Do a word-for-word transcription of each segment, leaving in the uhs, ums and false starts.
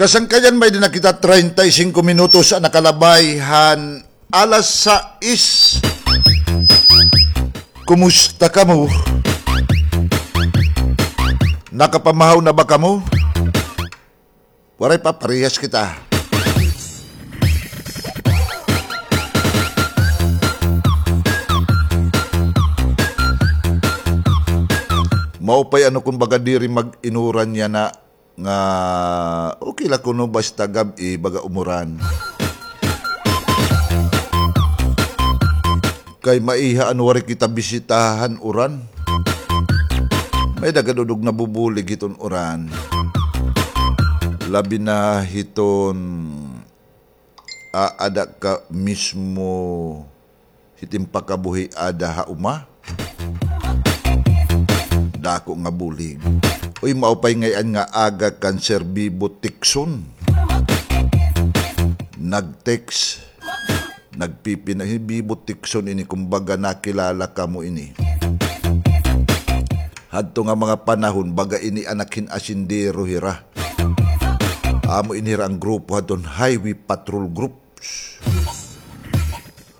Kasangkayan, may-ada na kita treinta y cinco minutos an nakalabay han alas sais. Kumusta kamo? Nakapamahaw na ba kamo? Waray pa, parehas kita. Maupay ano kon baga diri mag-inuran yana nga okay la kuno basta gab-i baga umuran. Kay maiha an waray kita bisitahan uran. May-ada gad udog nabubulig hiton uran. Labi na hiton aada ka mismo hit im pakabuhi ada ha uma. Dako nga bulig. Uy, maupay ngay-an nga aga kan Sir Bibo Tikson. Nag-text. Nagpipina-, hi Bibo Tikson ini, kumbaga nakilala kamo ini. Hadto nga mga panahon, baga ini anak hin asindero hira. Amo ini hira an grupo hadton Highway Patrol Groups.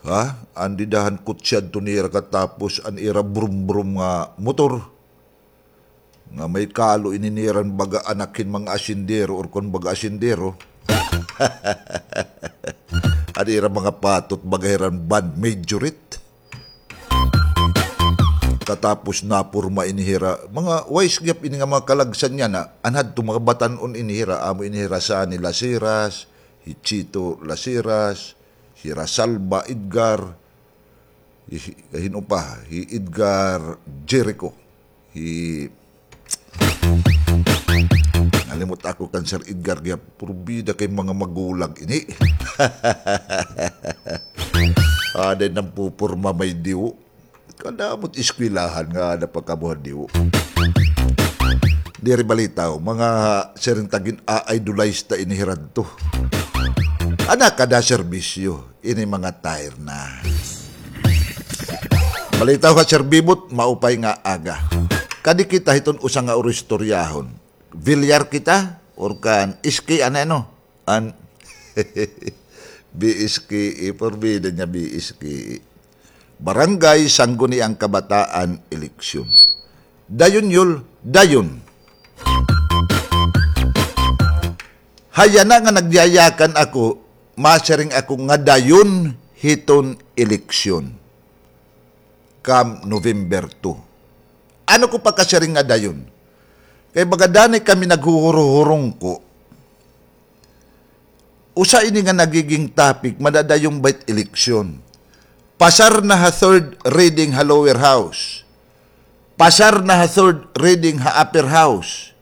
Ha? An dida han kutsi hadto nira katapos an ira brum-brum nga motor. Nga may kalo ini nira hin baga anak hin mga asindero or kon baga asindero. An ira mga patot baga hira hin band majorette. Katapos naporma ini hira. Mga wise gihap ini nga mga kalagsan yana. An hadto mga batan-on ini hira. Amo ini hira Sani Lasiras, hi Chito Lasiras, hira Salva Edgar, hi, hin-o pa, hi Edgar Jericho, hi Nalimot ako kan Sir Edgar gihap. Purbida kay mga magulang ini. Aday nagpuporma may diwo. Kadamot eskwelahan nga ada pa kabuhan diwo. Diri balitaw, mga siring ta gin-a-idolize ta ini hira adto. Ana kada serbisyo. Ini mga tire na. Balitaw ha Sir Bibot, maupay nga aga. Kadi kita hiton usa nga uro istoryahon. Villar kita, or kan S K, ano, ano? An B S K E, porbida niya B S K E. Barangay Sangguniang Kabataan Eleksyon. Dayon, Yul, dayon. Hayana nga nagyayakan ako, masiring ako nga dayon hiton eleksyon. Come November two. Ano ko pakasiring nga dayon? Kay baga danay kami naghuhuro-hurungko. Usa ini nga nagiging topic, madadayon ba it eleksyon? Pasar na ha third reading ha lower house. Pasar na ha third reading ha upper house.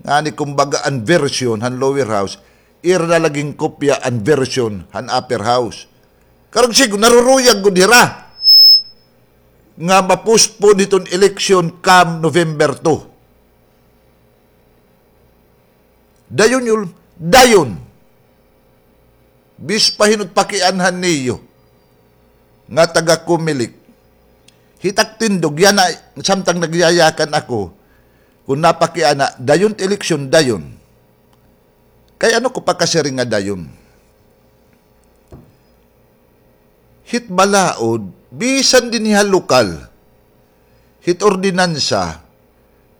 Ngani kumbaga an version han lower house, ira na la ginkopya an version han upper house. Karuyag siring, naruruyag gud hira nga ma-postpone hiton eleksyon come November two. Dayon, Yul, dayon. Bis pa hin-o it pakianhan niyo nga taga-Comelec. Hit ak tindog yana, samtang nagyayakan ako, kon napakiana, dayon it eleksyon, dayon. Kay ano ko pakasiring nga dayon? Hit balaod, bisan dinhi ha lokal, hit ordinansa,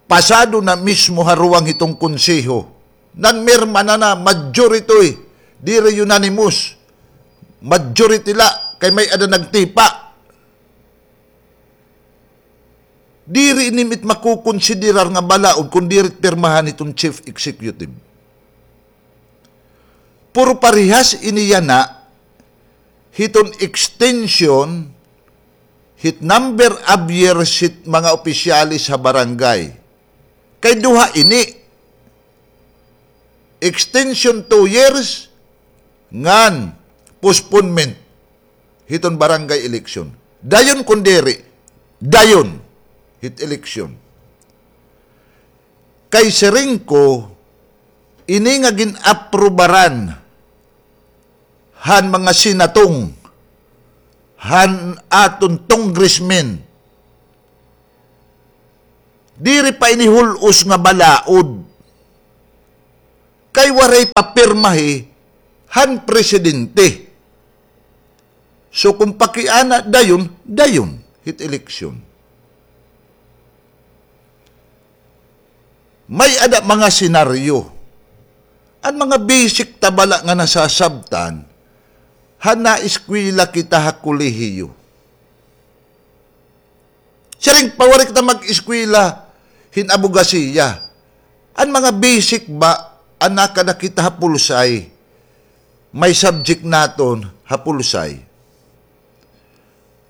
pasado na mismo ha ruwang hiton konseho. Nanmirma na na, majority, diri unanimous. Majority la, kay may-ada nagtipa. Diri ini it makukonsiderar nga balaod kon diri it pirmahan hiton chief executive. Pero parehas ini yana hiton extension hit number of years hit mga opisyales ha barangay. Kay duha ini, extension two years, ngan postponement hiton barangay election. Dayon kon diri, dayon hit election. Kay siring ko, ini nga gin-aprubaran han mga senatong, han aton congressmen, diri pa ini hul-os nga balaod. Kay waray papirmahi han presidente. So, kon pakiana, dayon, dayon hit eleksyon. May-ada mga senaryo. An mga basic ta bala nga nasasabtan, han naeskwela kita ha kolehiyo. Siring pa waray kita mag-eskwela hin abogasiya. An mga basic ba, an nakada kita ha pulsay, may subject naton ha pulsay.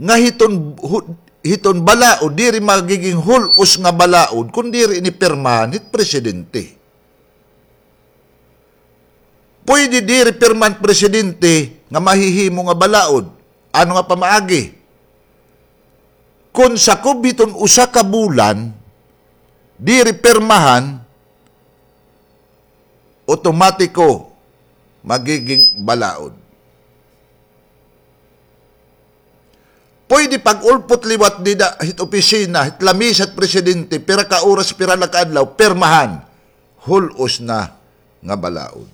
Nga hiton, hu-, hiton balaod, diri magiging hul-os nga balaod, kon diri ini pirmahan hit presidente. Pwede diri pirmahan presidente nga mahihimo nga balaod. Ano nga pamaagi? Kon sakob hiton usa ka bulan, diri pirmahan, otomatiko magiging balaod. Pwede pag-ulpot liwat dida hit opisina, hit lamisa hit presidente, pira ka oras, pira la ka adlaw, pirmahan, hul-os na nga balaod.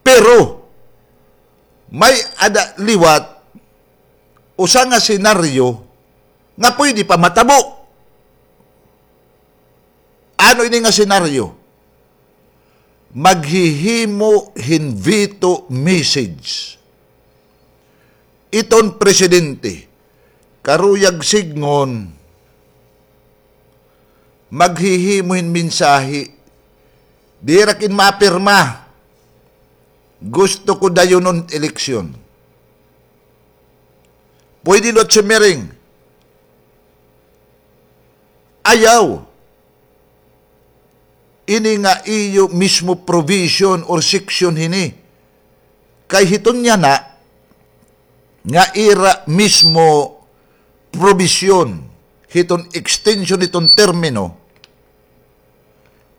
Pero, may-ada liwat usa nga senaryo nga pwede pa matabo. Ano ini nga senaryo? Maghihimo hin veto message iton presidente. Karuyag sidngon, maghihimo hin mensahe. Diri ak in mapirma. Gusto ko dayonon eleksyon. Pwede liwat siring, ayaw. Ini nga iyo mismo provision or section hini. Kay hiton yana nga ira mismo provision hiton extension hiton termino,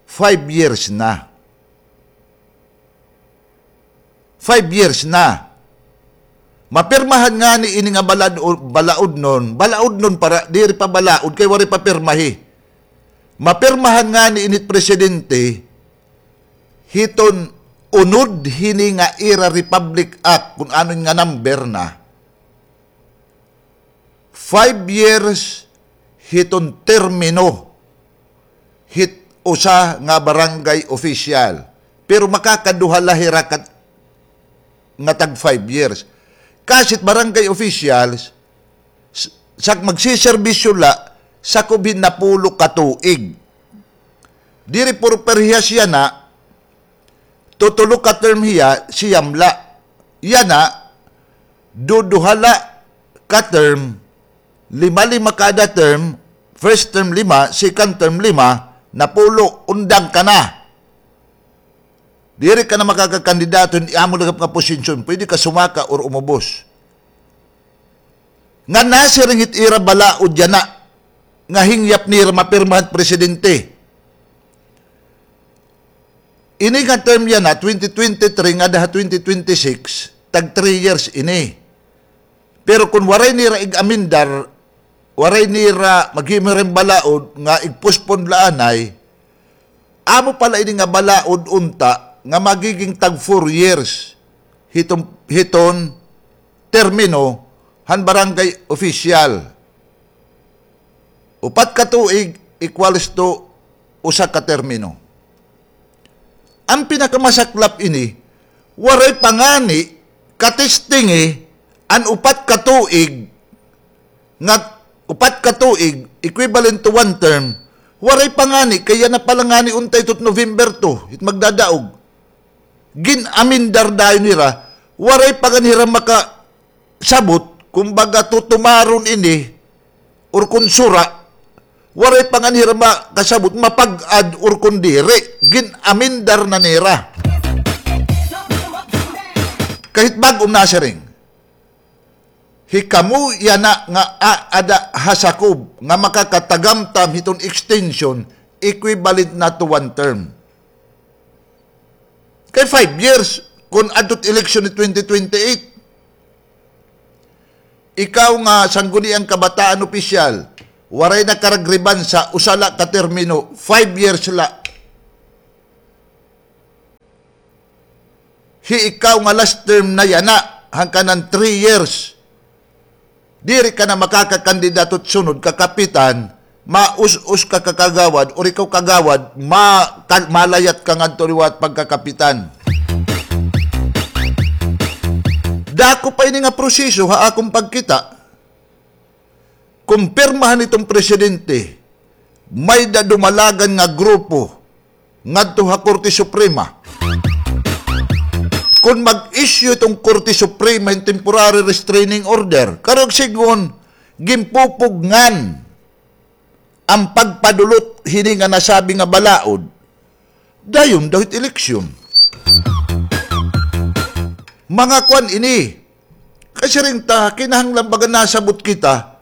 five years na. Five years na. Mapirmahan ngani ini nga balad-, balaodnon, balaodnon para diri pa balaod kay waray pa pirmahi. Mapirmahan ngani ini hit presidente hiton unod hini nga ira Republic Act, kun ano nga number na. Five years hiton termino hit usa nga barangay official. Pero makakaduha la hira kat-, nga tag five years. Kasi it barangay officials, s-, sa magsiserbisyo la, sakob hin napulo ka tuig. Diri puro parehas yana, tutulo ka term hiya, siyam la. Yana, duduha la ka term, lima-lima kada term, first term lima, second term lima, napulo, undang ka na. Diri ka na makakakandidato hin amo la nga posisyon, pwede ka sumaka or umubos. Nga nasiring hit ira balaod yana, nga hingyap nira mapirmahan presidente. Ini nga term yana, twenty twenty-three ngada ha twenty twenty-six, tag three years ini. Pero kon waray nira ig-amendar, waray nira maghimo hin balaod nga ig-postpone la anay, amo pala ini nga balaod unta nga magiging tag four years hiton, hiton termino han barangay official. Upat ka tuig equals to usa ka termino. An pinakamasaklap ini, waray pa ngani katestingi an upat ka tuig, nga upat ka tuig, equivalent to one term, waray pa ngani, kay yana pa la ngani unta ito November two, it magdadaog. Gin-amendar dayon nira, waray pa ngani hira makasabot, kumbaga tutumaron ini, or kon sura, waray pa ngani hira makasabot, mapag-ad or kon diri, gin-amendar na nira. Kahit bag-o nasiring. Hikamo yana nga aada ha sakob nga makakatagamtam hiton extension, equivalent na to one term. Kay five years, kon adto it eleksyon ni twenty twenty-eight. Ikaw nga Sangguniang Kabataan opisyal, waray na karagribansa, usa la ka termino, five years la. Hi ikaw nga last term na yana, hangkanan three years. Diri ka na makakakandidato sunod ka kapitan, maus-us ka kakagawad, or ikaw kagawad, ma-, ka-, malayat ka ngadto liwat pagkakapitan. Dako pa ini nga proseso ha akon pagkita. Kon pirmahan iton presidente, may-ada dumalagan nga grupo ngadto ha Korte Suprema. Kon mag-issue iton Korte Suprema hin temporary restraining order, karuyag sidngon, ginpupugngan an pagpadulot hini nga nasabi nga balaod, dayon daw hit eleksyon. Mga kuan ini. Kasiring ta, kinahanglan baga nasabot kita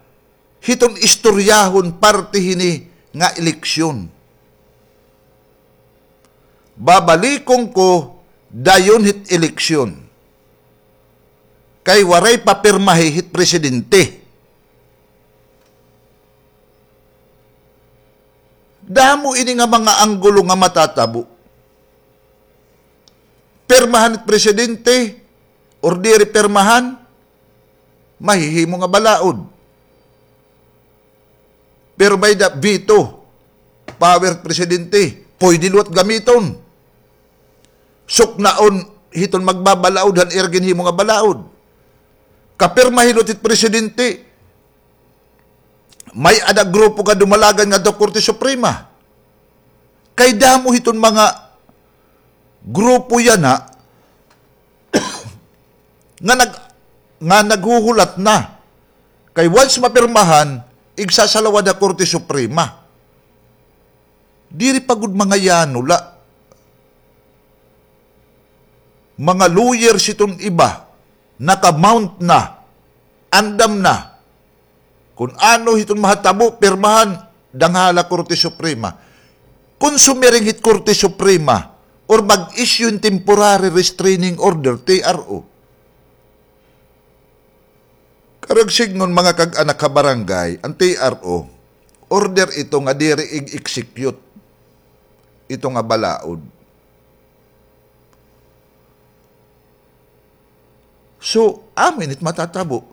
hiton istoryahon parte hini nga eleksyon. Babalikon ko, dayon hit eleksyon. Kay waray pa pirmahi hit presidente. Damo ini nga mga anggulo nga matatabo. Pirmahan hit presidente, or diri pirmahan, mahihimo nga balaod. Pero may-ada veto power presidente, pwede liwat gamiton. Suknaon hiton magbabalaod han ira ginhimo nga balaod. Kapirmahi liwat hit presidente, may-ada grupo nga dumalagan ngadto ha Korte Suprema. Kay damo hiton mga grupo yana nga nag-, nga naghuhulat na. Kay once mapirmahan, igsasalawad ha Korte Suprema. Diri pa gud mga yano la. Mga lawyers hiton iba, naka-mount na, andam na. Kon ano hiton mahatabo, pirmahan, danghala Korte Suprema. Kon sumiring hit Korte Suprema, or mag-issue hin temporary restraining order, T R O. Karuyag sidngon, mga kag-anak ha barangay, an T R O, order ito nga diri ig-execute ito nga balaod. So, amo ini it matatabo.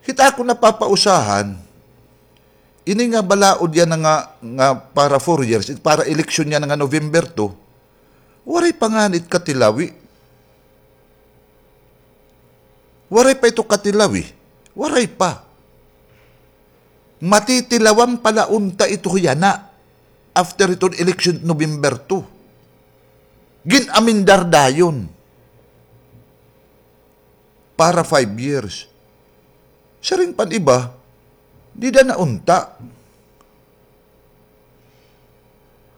Hit akon napapausahan, ini nga balaod yana nga, nga para four years, para eleksyon yana nga November two, waray pa ngani it katilawi. Waray pa ito katilawi. Waray pa. Matitilawan pa la unta ito yana after iton eleksyon November two. Gin-amendar dayon para five years. Siring pa an iba, dida na unta.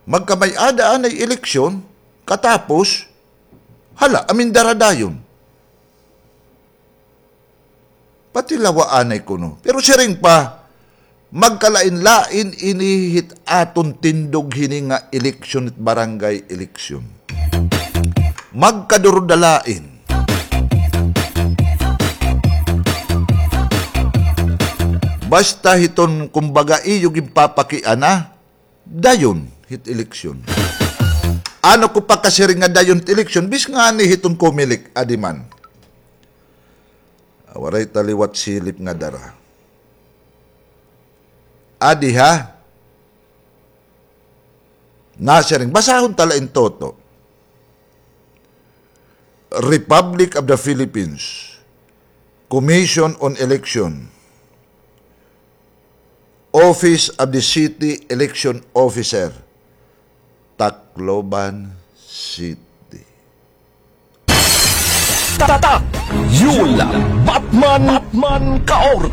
Magkamay-ada anay eleksyon, katapos, hala, amendara dayon. Patilawa anay kuno. Pero siring pa, magkalain-lain ini hit aton tindog hini nga eleksyon, hit barangay eleksyon. Magkadurudalain. Basta hiton, kumbaga, iyo ginpapakiana, dayon hit eleksyon. Ano ko pakasiring nga dayon hit eleksyon, bis ngani hiton Comelec, adi man. Ah, waray ta liwat silip nga dara. Adi ha? Nasiring, basahon ta la in toto. Republic of the Philippines, Commission on Election, Office of the City Election Officer, Tacloban City. Tatak Yul Batman, Batman Kaorte.